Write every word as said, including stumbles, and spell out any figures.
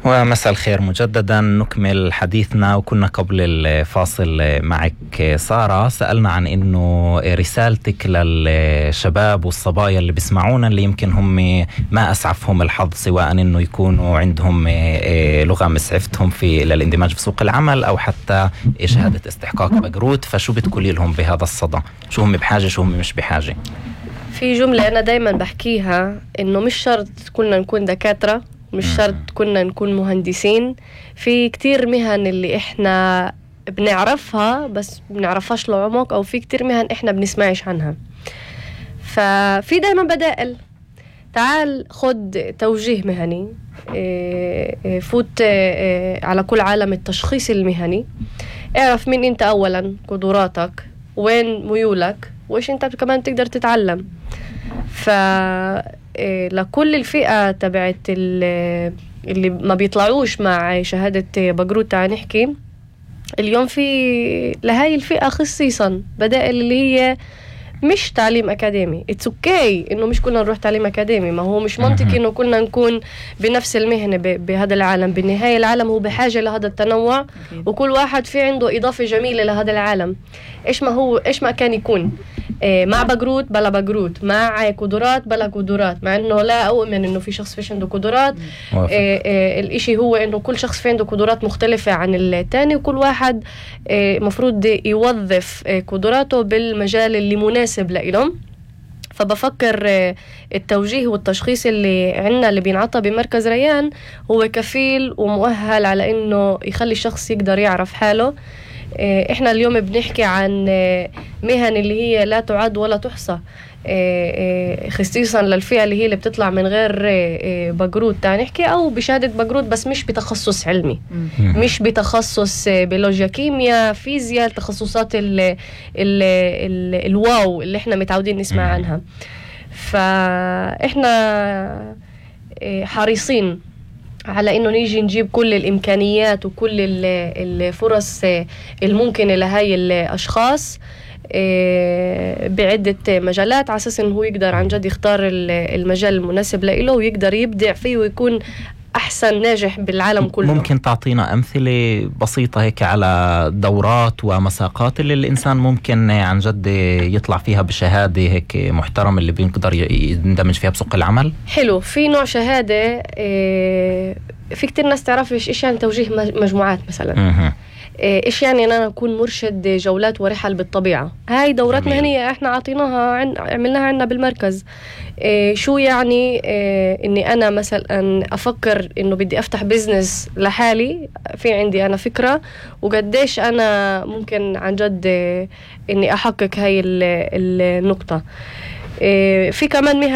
ومساء الخير مجددا. نكمل حديثنا، وكنا قبل الفاصل معك سارة سألنا عن إنه رسالتك للشباب والصبايا اللي بيسمعونا اللي يمكن هم ما أسعفهم الحظ، سواء إنه يكونوا عندهم لغة مسعفتهم في للاندماج في سوق العمل أو حتى شهادة استحقاق بقروت، فشو بتقولي لهم بهذا الصدى؟ شو هم بحاجة شو هم مش بحاجة؟ في جملة أنا دايما بحكيها، إنه مش شرط كنا نكون دكاترة، مش شرط كنا نكون مهندسين. في كتير مهن اللي إحنا بنعرفها بس بنعرفهاش لعمق، أو في كتير مهن إحنا بنسمعش عنها. ففي دايما بدائل. تعال خد توجيه مهني، فوت على كل عالم التشخيص المهني، اعرف مين أنت أولا، قدراتك، وين ميولك، وإيش أنت كمان تقدر تتعلم. ف لكل الفئة تبعت اللي ما بيطلعوش مع شهادة بقروت، تعال نحكي اليوم في لهاي الفئة خصيصا بدائل اللي هي مش تعليم أكاديمي. اتس اوكي إنه مش كلنا نروح تعليم أكاديمي، ما هو مش منطقي إنه كلنا نكون بنفس المهنة بهذا العالم. بالنهاية العالم هو بحاجة لهذا التنوع، وكل واحد في عنده إضافة جميلة لهذا العالم. إيش ما هو إيش ما كان يكون مع بقروت بلا بقروت، مع قدرات بلا قدرات، مع إنه لا أؤمن إنه في شخص فيش عنده قدرات. آه آه الإشي هو إنه كل شخص في عنده قدرات مختلفة عن التاني، وكل واحد آه مفروض يوظف آه قدراته بالمجال اللي مناسب لإلهم. فبفكر آه التوجيه والتشخيص اللي عنا اللي بينعطى بمركز ريان هو كفيل ومؤهل على إنه يخلي الشخص يقدر يعرف حاله. احنا اليوم بنحكي عن مهن اللي هي لا تعد ولا تحصى، خصيصا للفئة اللي هي اللي بتطلع من غير بقروت، تاني نحكي او بشهادة بقروت بس مش بتخصص علمي، مش بتخصص بيولوجيا كيمياء فيزياء، التخصصات ال ال ال الواو اللي احنا متعودين نسمع عنها. فاحنا حريصين على إنه نيجي نجيب كل الإمكانيات وكل الفرص الممكنة لهاي الأشخاص بعدة مجالات، على أساس إنه هو يقدر عن جد يختار المجال المناسب له ويقدر يبدع فيه ويكون أحسن ناجح بالعالم كله. ممكن تعطينا أمثلة بسيطة هيك على دورات ومساقات اللي الإنسان ممكن عن جد يطلع فيها بشهادة هيك محترم اللي بيقدر يندمج فيها بسوق العمل؟ حلو. في نوع شهادة في كتير ناس تعرف إيش إيش يعني توجيه مجموعات مثلا. م- إيش يعني أنا أكون مرشد جولات ورحل بالطبيعة. هاي دورات مهنية إحنا عطيناها عن عملناها عنا بالمركز. إيه شو يعني إيه إني أنا مثلا أفكر إنه بدي أفتح بيزنس لحالي، في عندي أنا فكرة وقديش أنا ممكن عن جد إيه إني أحقق هاي النقطة. إيه في كمان مهن